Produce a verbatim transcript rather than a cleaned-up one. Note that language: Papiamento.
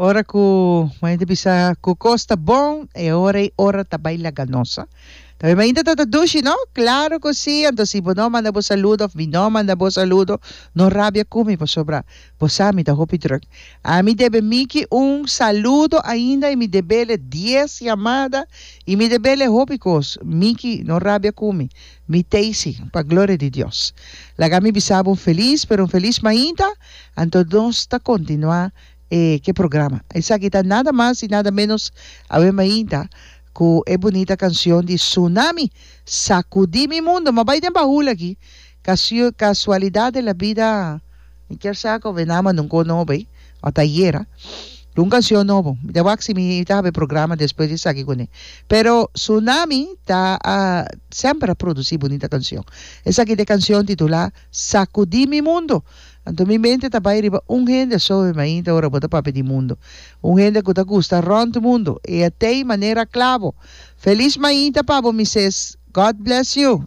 Ora ku mainta bisa ku kos ta bon, e ora ei ora ta bai laga nos. Tambe mainta ta ta dushi, no? Klaro ku sí. Anto si bo no manda bo saludo òf mi no manda bo saludo, no rabia ku mi pasobra bo sa mi ta hopi drùk. Ami debe Miki un saludo ainda i mi debele dies yamada i mi debele hopi kos. Miki, no rabia ku mi. Mi t'ei sí, pa gloria di Dios. Laga mi bisa bo un felis, pero un felis mainta. Anto nos ta kontinuá e ke programa. Esaki ta nada mas i nada ménos awe mainta ku e bunita kanshon di Tsunami, Sakudí mi mundo. Ma bai den bahul aki. Kasio, kasualidat de la bida, mi kier sa ku Venama nunka nobo ei, o ta ayera. Un kanshon nobo. Mi ta wak si mi ta habi programa despues di esaki kuné. Pero Tsunami ta a semper a produsí bunita kanshon. Esaki ta e kanshon titulá Sakudí mi mundo. Anto mi mente ta bai riba un hende so e mainta ora bo ta papia di mundo. Un hende ku ta gusta rònt mundo. E a tei manera klabo. Felis mainta pa bo, Mises. God bless you.